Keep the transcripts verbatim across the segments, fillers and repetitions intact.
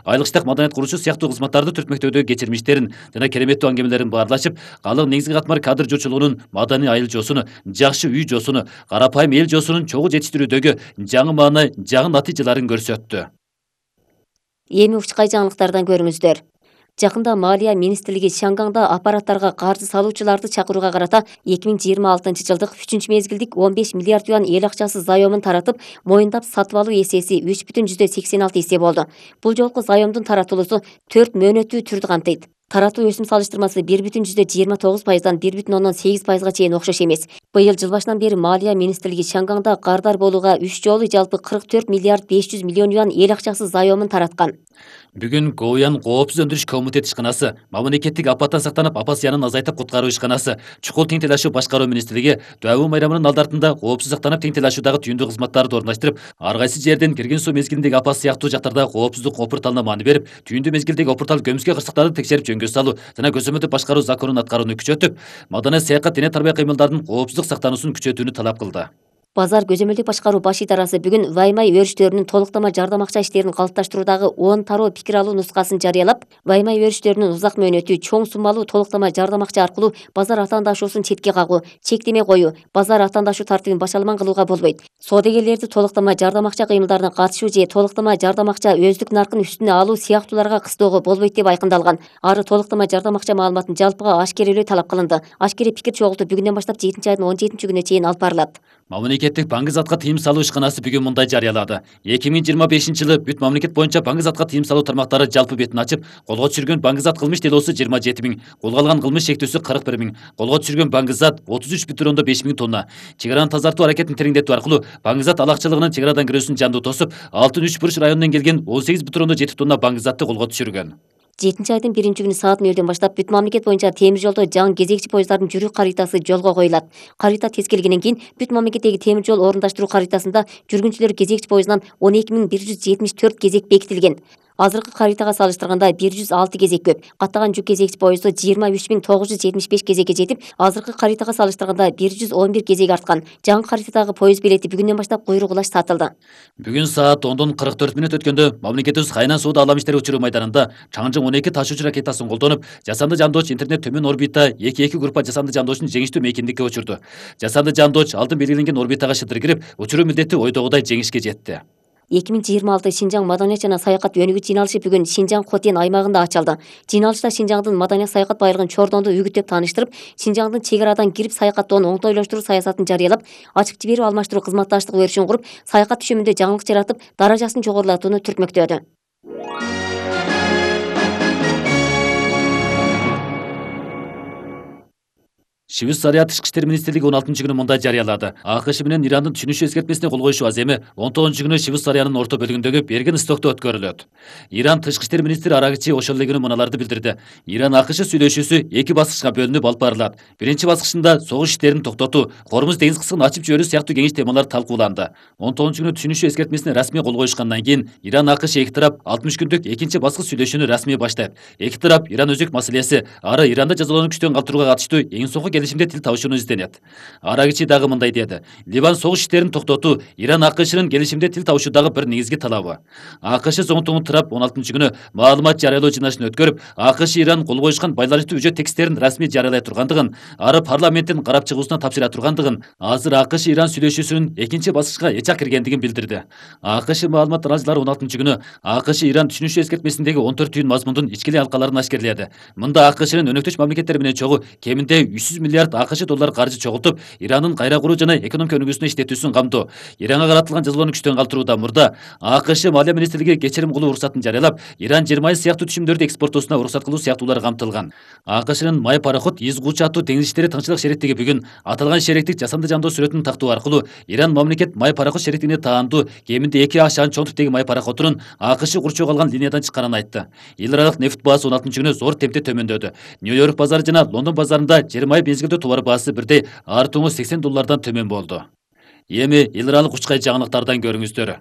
айлык иштак маданият куруушу сыяктуу кызматтарды түртмөктөөдөгү кечирмиштерин жана кереметтүү аңгемелерин баарлашып, калк негизги катмар кадр жоочулугунун маданий айыл жоосуну, жакшы үй жоосуну, карапайым эл жоосунун чогуу жетиштирүүдөгү жаңы мааны, жаңы натыйжаларын көрсөттү. Эми учкай жаңылыктардан көрүңүздөр. Жакында Малия министрлиги Шангаңда аппараттарга каржы салуучуларды чакырууга карата эки миң жыйырма алтынчы жылдык үчүнчү мезгилдик он беш миллиард юан эл акчасы заёмун таратып, моюндап сатып алуу эсеси үч бүтүн жүздөн сексен алты эсе болду. Бул жолку заёмдун таратылуусу төрт мөөнөттүү түрдү камтыйт. Таратуу өсүм салыштырмасы бир бүтүн жүздөн жыйырма тогуз пайыздан бир бүтүн ондон сегиз пайызга чейин окшош эмес. Быйыл жыл башынан бери Малия министрлиги Шангаңда кардар болууга үч жолу жалпы кырк төрт миллиард беш жүз миллион юан эл акчасы заёмун тараткан. Бүгүн Гоуян коопсуз өндүрүш комитет ишканасы, мамлекеттик апаттан сактанып апат зыянын азайтып куткаруу ишканасы, чукул тең тейлашуу башкаруу министрлиги Дүйабүү майрамынын алдартында коопсуз сактанып тең тейлашуудагы түйүндүү кызматтарды орундаштырып, ар кайсы жерден кирген суу мезгилиндеги апат сыяктуу жактарда коопсуздук опурталына маани берип, түйүндүү мезгилдеги опуртал көмүскө кырсыктарды текшерип жөнгө салуу жана көзөмөлдүп башкаруу законун аткарууну күчөтүп, маданий саякат дене тарбия кыймылдардын коопсуздук сактануусун күчөтүүнү талап кылды. Базар көзөмөлдүк башкаруу баш идарасы бүгүн Ваймай өрүштөрүнүн толуктама жардам акча иштерин калыпташтыруудагы он тароо пикир алуу нускасын жарыялап, Ваймай өрүштөрүнүн узак мөөнөттүү чоң суммалуу толуктама жардам акча аркылуу базар атаандашуусун четке кагуу, чектеме коюу, базар атаандашуу тартибин башаламан кылууга болбойт. Соодагерлерди толуктама жардам акча кыймылдарына катышуу же толуктама жардам акча өздүк наркын үстүнө алуу сыяктууларга кыстоого болбойт деп айкындалган. Ары толуктама жардам акча маалыматын жалпыга ашкерелөө талап кылынды. Ашкере пикир чогултуу бүгүндөн баштап жетинчи айдын он жетинчи күнүнө чейин алып барылат. Мамлекеттик банк затка тыйым салуу ишканасы бүгүн мындай жарыялады. эки миң жыйырма бешинчи жылы бүт мамлекет боюнча банк затка тыйым салуу тармактары жалпы бетин ачып, колго түшүргөн банк зат кылмыш делосу жыйырма жети миң, колго алган кылмыш шектүүсү кырк бир миң, колго түшүргөн банк зат отуз үч бүтүн ондон беш миң тонна. Чек араны тазартуу аракетин тереңдетүү аркылуу банк зат алакчылыгынын чек арадан кирүүсүн жандуу тосуп, алтын үч буруч районунан келген он сегиз бүтүн ондон жети тонна банк затты колго түшүргөн. жетинчи айдын биринчи күнү саат нөлдөн баштап бүт мамлекет боюнча темир жолдо жаңы кезекчи поезддардын жүрүү каритасы жолго коюлат. Карита тескелгенден кийин бүт мамлекеттеги темир жол орундаштыруу каритасында жүргүнчүлөр кезекчи поездынан он эки миң бир жүз жетимиш төрт кезек бекитилген. Азыркы каритага салыштырганда бир жүз алты кезек көп. Каттаган жүк кезекчи поезду жыйырма үч миң тогуз жүз жетимиш беш кезекке жетип, азыркы каритага салыштырганда бир жүз он бир кезек арткан. Жаңы каритадагы поезд билети бүгүндөн баштап куйрук улаш сатылды. Бүгүн саат ондон кырк төрт мүнөт өткөндө мамлекетибиз Хайнан соода алам иштери учуруу майданында Чаңжың он эки ташуучу ракетасын колдонуп, жасанды жандооч интернет төмөн орбита эки эки группа жасанды жандоочун жеңиштүү мейкиндикке учурду. Жасанды жандооч алдын белгиленген орбитага шыдыр кирип, учуруу милдети ойдогудай жеңишке жетти. эки миң жыйырма алты Шинжаң маданият жана саякат өнүгүү жыйналышы бүгүн Шинжаң Хотен аймагында ачылды. Жыйналышта Шинжаңдын маданият саякат байлыгын чордонду үгүттөп тааныштырып, Шинжаңдын чек арадан кирип саякаттоонун оңтойлоштуруу саясатын жарыялап, ачык жиберүү алмаштыруу кызматташтык өрүшүн куруп, саякат түшүмүндө жаңылык жаратып, даражасын жогорулатууну түртмөктөдү. Швейцария тышкы иштер министрлиги он алтынчы күнү мындай жарыялады. АКШ менен Ирандын түшүнүшү эскертмесине кол коюшу аз эми он тогузунчу күнү Швейцариянын орто бөлүгүндөгү Берген Истокто өткөрүлөт. Иран тышкы иштер министри Арагчи ошол эле күнү мыналарды билдирди. Иран АКШ сүйлөшүүсү эки баскычка бөлүнүп алып барылат. Биринчи баскычында согуш иштерин токтотуу, Кормуз деңиз кыскын ачып жиберүү сыяктуу кеңеш темалар талкууланды. он тогузунчу күнү түшүнүшү эскертмесине расмий кол коюшкандан кийин Иран АКШ эки тарап алтымыш күндүк экинчи баскыч сүйлөшүүнү расмий баштайт. Эки тарап Иран өзөк маселеси, ары Иранды жазалоону күчтөн калтырууга катыштуу эң соңку келишимде тил табышууну изденет. Арагичи дагы мындай деди. Ливан согуш иштерин токтотуу Иран АКШнын келишимде тил табышуудагы бир негизги талабы. АКШ зоңтуңун тарап он алтынчы күнү маалымат жарыялоо жыйналышын өткөрүп, АКШ Иран кол коюшкан байланыштуу үжөт тексттерин расмий жарыялай тургандыгын, ары парламенттин карап чыгуусуна тапшыра тургандыгын, азыр АКШ Иран сүйлөшүүсүнүн экинчи баскычка эчак киргендигин билдирди. АКШ маалымат тараачылары он алтынчы күнү АКШ Иран түшүнүшү эскертмесиндеги он төрт түйүн мазмундун ичкилей алкаларын ашкерледи. Мында АКШнын өнөктөш мамлекеттер менен чогуу кеминде үч жүз миллиард АКШ доллар каржы чогултуп, Ирандын кайра куруу жана экономика өнүгүүсүнө иштетүүсүн камтоо. Иранга каратылган жазалоону күчтөн калтыруудан мурда АКШ Малия министрлиги кечирим кылуу уруксатын жарыялап, Иран жер майы сыяктуу түшүмдөрдү экспорттоосуна уруксат кылуу сыяктуулар камтылган. АКШнын май пароход Изгучу аттуу деңиз иштери тыңчылык шериктиги бүгүн аталган шериктик жасанды жандоо сүрөтүн тактоо аркылуу Иран мамлекет май пароход шериктигине таандуу кеминде эки А шаан чоң типтеги май пароходунун АКШ курчоого алган линиядан чыкканын айтты. Эл аралык нефть баасы он алтынчы күнү зор темпте төмөндөдү. Нью-Йорк базары жана Лондон базарында жер майы мезгилдүү товар баасы бирдей артуңу сексен доллардан төмөн болду. Эми эл аралык учкай жаңылыктардан көрүңүздөр.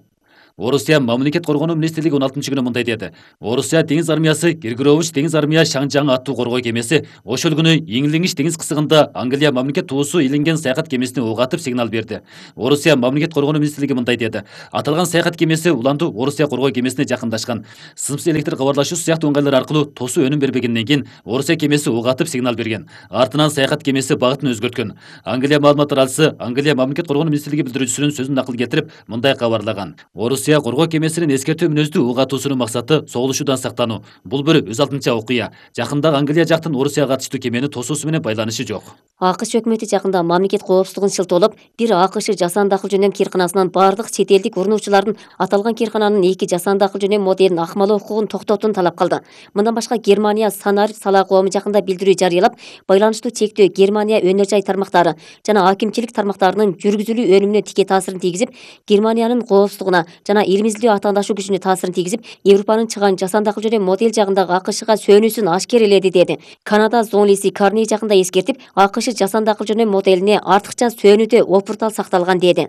Орусия мамлекет коргонуу министрлиги он алтынчы күнү мындай деди. Орусия деңиз армиясы Киргирович деңиз армия Шаңжаң аттуу коргоо кемеси ошол күнү Иңлиңиш деңиз кысыгында Англия мамлекет туусу илинген саякат кемесине ок атып сигнал берди. Орусия мамлекет коргонуу министрлиги мындай деди. Аталган саякат кемеси уланду Орусия коргоо кемесине жакындашкан. Сымсыз электр кабарлашуу сыяктуу ыңгайлар аркылуу тосуу өнүм бербегенден кийин Орусия кемеси ок атып сигнал берген. Артынан саякат кемеси багытын өзгөрткөн. Англия маалымат таратчысы Англия мамлекет коргонуу министрлиги билдирүүчүсүнүн сөзүн накыл кетирип мындай кабарлаган. Орусия коргоо кемесинин эскертүү мүнөздүү ок атуусунун максаты соголушуудан сактануу. Бул бир өз алдынча окуя. Жакында Англия жактын Орусияга катыштуу кемени тосуусу менен байланышы жок. АКШ өкмөтү жакында мамлекет коопсуздугун шылтоолоп, бир АКШ жасанды акыл жөнөм кыйрканасынан бардык чет элдик урнуучулардын аталган кыйркананын эки жасанды акыл жөнөм моделин акмалоо укугун токтотууну талап кылды. Мындан башка Германия Санар сала коому жакында билдирүү жарыялап, байланыштуу чектөө Германия өнөр жай тармактары жана акимчилик тармактарынын жүргүзүлүү өнүмүнө тике таасирин тийгизип, Германиянын коопсуздугуна жана илимиздүү атаандашуу күчүнө таасирин тийгизип, Европанын чыган жасанды акыл жөнөм модель жагындагы АКШга сөнүүсүн ашкереледи деди. Канада зоолиси Карни жакында эскертип, АКШ жасанды акыл жөнөм моделине артыкча сөөнүүдө опуртал сакталган деди.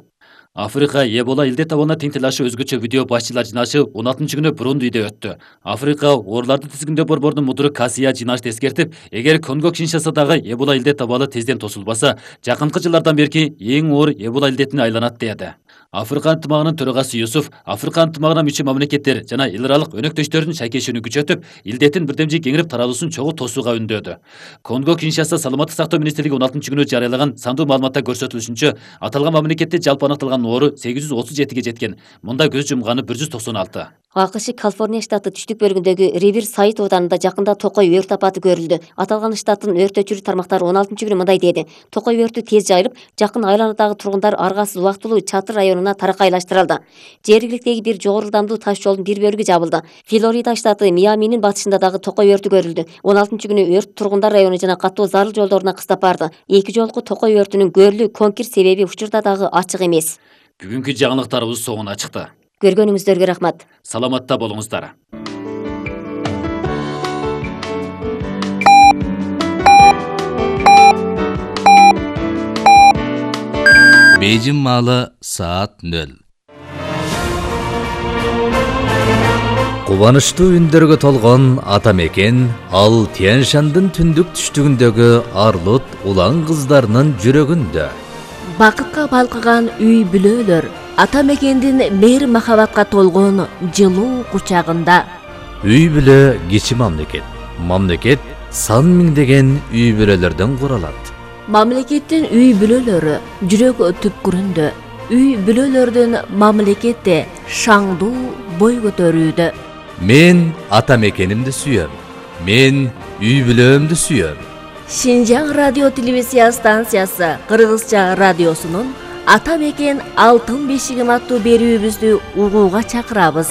Африка Эбола илдет абалына тең тилашы өзгөчө видео башчылар жынашы он алтынчы күнү Бурундиде өттү. Африка ооруларды тизгиндөө борборунун мудуру Касия жинашты эскертип, эгер Конго Киншасадагы Эбола илдет абалы тезден тосулбаса, жакынкы жылдардан берки эң оор Эбола илдетине айланат деди. Африка ынтымагынын төрагасы Юсуф, Африка ынтымагына мүчө мамлекеттер жана эл аралык өнөктөштөрдүн шайкешүүнү күчөтүп, илдеттин бирдемжи кеңирип таралуусун чогуу тосууга үндөөдү. Конго Киншаса саламаттык сактоо министрлиги он алтынчы күнү жарыялаган сандуу маалыматта көрсөтүлүшүнчө, аталган мамлекетте жалпы аныкталган оору сегиз жүз отуз жетиге жеткен. Мында көз жумганы бир жүз токсон алты. АКШ Калифорния штаты түштүк бөлүгүндөгү Риверсайд ооданында жакында токой өрт апаты көрүлдү. Аталган штаттын өрт өчүрүү тармактары он алтынчы күнү мындай деди. Токой өртү тез жайылып, жакын айланадагы тургундар аргасыз убактылуу Чатыр районуна таракайлаштырылды. Жергиликтеги бир жогору ылдамдуу таш жолдун бир бөлүгү жабылды. Флорида штаты Миаминин батышында дагы токой өртү көрүлдү. он алтынчы күнү өрт тургундар району жана каттоо зарыл жолдоруна кыстап барды. Эки жолку токой өртүнүн көрүлүү конкир себеби учурда дагы ачык эмес. Бүгүнкү жаңылыктарыбыз соңуна чыкты. Көргөнүңүздөргө рахмат. Саламатта болуңуздар. Бейжин маалы саат нөл. Кубанычтуу үндөргө толгон ата мекен ал Тянь-Шандын түндүк түштүгүндөгү арлут улан кыздарынын жүрөгүндө. Бакытка балкыган үй бүлөлөр ата мекендин мейир махабатка толгон жылуу кучагында. Үй бүлө кичи мамлекет. Мамлекет сан миңдеген үй бүлөлөрдөн куралат. Мамлекеттин үй бүлөлөрү жүрөк түпкүрүндө. Үй бүлөлөрдүн мамлекетте шаңдуу бой көтөрүүдө. Мен ата мекенимди сүйөм. Мен үй бүлөмдү сүйөм. Шинжаң радио телевизия станциясы Кыргызча радиосунун Ата мекен алтын бешигим аттуу берүүбүздү угууга чакырабыз.